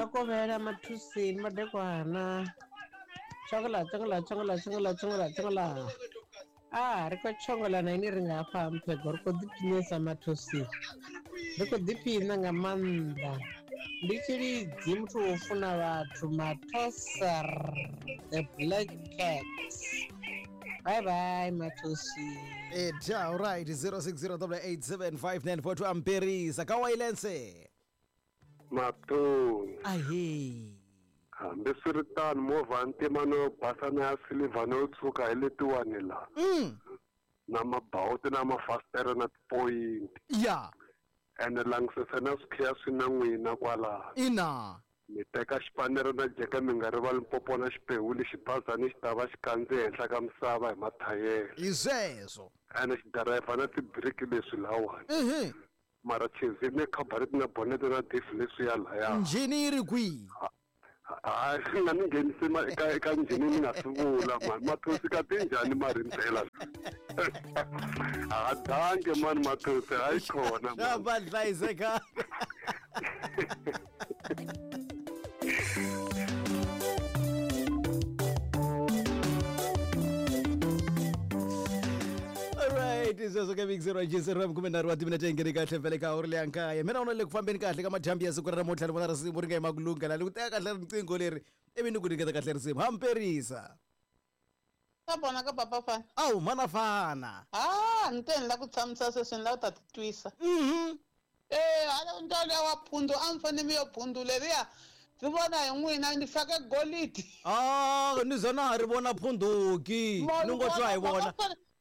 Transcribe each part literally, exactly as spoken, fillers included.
Ḽa kovhela mathusini madekwana. Tshongola tshongola tshongola tshongola tshongola tshongola. Ah, ri khou tshongola na ini ri nga hafha Mphego ri khou ḓiphinesa mathusini. Ri khou ḓiphina nga maanḓa. Ndi tshilidzi muthu wo funa vhathu Mathoser the Black Cat. Bye bye Mathosi. Eta all right zero six zero double eight seven five nine four two amperisa ka wailense. Matoni. Ahe. Hambiswiritano movha ntima no basa na ya silver no tshuka hi letiwani la. Mm. Na mabawuti na mafasitere na tipoyinti. Ya. Ene langisisa na swikhiya swi na n'wina kwalaho. Ina. Mi teka xipanere na jeke mi nga rivali mpopo na xipewu lexi bazani xi ta va xi kandze henhla ka misava hi mathayele. Hi sweswo. Ene xi dirayivha na tibiriki leswi lawani. Mhm. Mara chezi ne khabareti na bonete na diff leswi ya laya. Njhini yi ri kwihi? Hayi swi nga ni nghenisi ma eka eka njhini ni nga swi vula mani mathosi ka tinjhani ma rindzela. A danke mani mathosi hayi khona mani. Va hlayiseka. Alright, sweswo ka Big Zero G zero khume nharhu wa timinete yi nghene kahle vhele ka awuri leya nkaya. Mina u na le ku fambeni kahle ka madyambu ya siku ra namuntlha ni vona risimu ri nga yima ku lungha la ni ku teka kahle riqingho leri ivi ni ku nyiketa kahle risimu hamperisa. Ka vona ka papa fana. Awu mana fana. Ah, ni te ni la ku tshamisa sweswi ni la ku ta titwisa. Mhm. Eh, hala ntwana wa phundu a mi fanele mi yo phundu leriya. Ri vona hi n'wina ni fake golidi. Ah, ni zona ha ri vona phunduki. Ni ngo twa hi vona.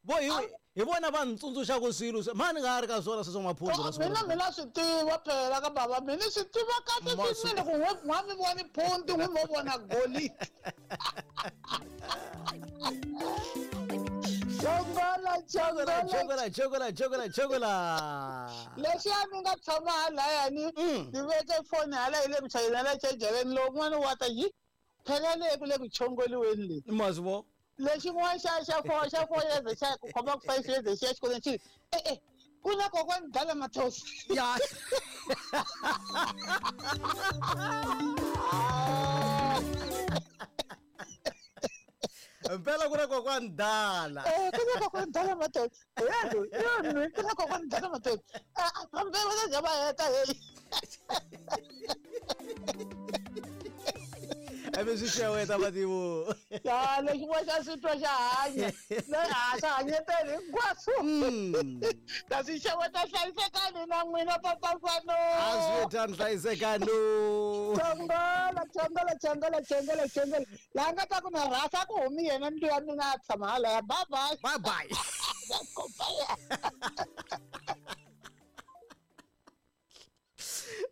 Bo hi hi vona va ntsundzuxaka swilo mani nga ri ka swona sweswo maphundu na swona. Mina mina swi tiva phela ka baba mina swi tiva kahle swinene ku n'we n'wa mi voni phundu n'wi mo vona golidi. Chongola chongola chongola chongola chongola chongola. Leswi a mi nga tshama halayani ni veke foni hala hi le ku chayeleni la chejeleni loko n'wana wa ta yi phela le ku le ku chongoliweni le. Mazvo. Lexin'wana xa xa four xa four years xa ku khoma ku five years xa xikolweni xi eh eh ku na kokwani dala mathosi. Ya. Mpela ku na kokwani dala. Eh ku na kokwani dala mathosi. Ya ya ku na kokwani dala mathosi. A fambe va ta va heta hey. Ebe swi xeweta mativo. Ya lexin'wana xa swi twa xa hanya. A xa hanyetela hinkwaswo. Ta swi xeweta hlayisekani na n'wina papa Fano. A swi ta hlayisekani. Chongola chongola chongola chongola chongola. La nga ta ku na rhasa ku humi yena mbilu ya mina a tshama halaya. Bye bye. Bye bye.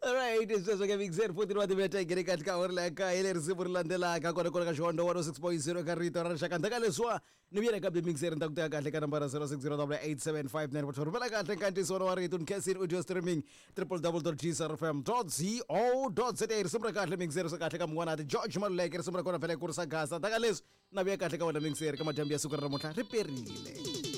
All right, sweswo ka Big Zero fourteen wa timinete yi nghene kahle ka awuri leya kaye leri risimu ri landzelaka kona kona ka Xihondzo one oh six point zero ka rito ra rixaka. Ndzhaku ka leswiwa ni vuyela ka Big Zero ni ta ku teka kahle ka nambara zero six zero double eight seven five nine four two. Rhumela kahle nkantiso wa rito ni khensini audio streaming triple double dot g r f m dot co dot za. Risimu ra kahle Big Zero swa kahle ka mun'wana ti George Maluleke risimu ra kona vhele kurisa gasa. Ndzhaku ka leswi na vuya kahle ka wena Big Zero ka madyambu ya siku ra namuntlha ri perile.